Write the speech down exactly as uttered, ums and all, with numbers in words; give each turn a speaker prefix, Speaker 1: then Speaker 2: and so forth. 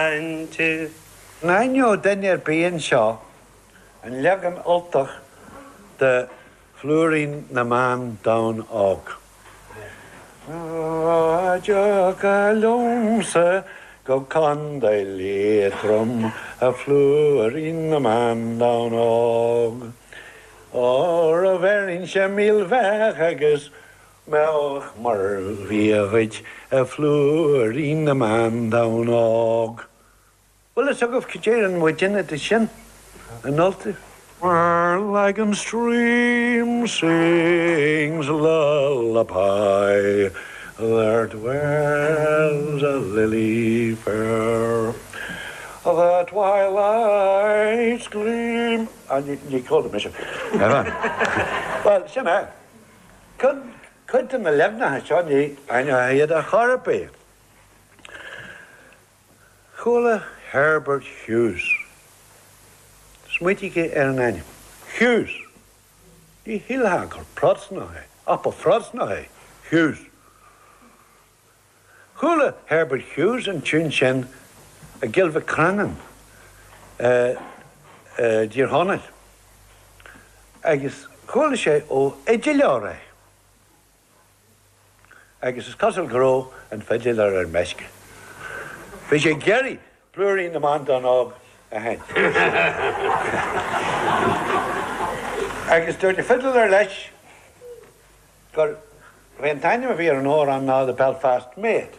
Speaker 1: Cainte.
Speaker 2: An aithneodh duine ar bith anseo an leagan Ultach de Phlúirín na mBan Donn Óg? Dá dtiocfá liomsa go Contae Liatroim, a phlúirín na mBan Donn Óg, Óra bheirinnse milbheach agus mbeadh mar bhia dhuit, a phlúirín na mBan Donn Óg. Bhfuil fhios agaibh cad a deireann muidinne de sin in Ultaibh? Where Lagan stream sings lullaby, there dwells a lily fair. The twilight's gleam. Ah, ní ní chuala mise. Bhuel, sin é. Cuid de na leaganacha seo ní aithneofá iad ar chor ar bith. Chuala Herbert Hughes. Smaointígí ar an ainm. Hughes. Ní shílfeá gur Protastúnach é, ach ba Phrotastúnach é Hughes. Chuala Herbert Hughes an tiún sin i gCill Mhic Crannán i dTír Chonaill agus chuala sé ó fhidiléir é. Agus is cosúil go raibh an fidiléir ar meisce. Bhí sé ag iarraidh Plúirín na mBan Donn Óg a sheinnt. Agus dúirt an fidiléir leis gurbh é an t-ainm a bhí ar an amhrán ná The Belfast Maid.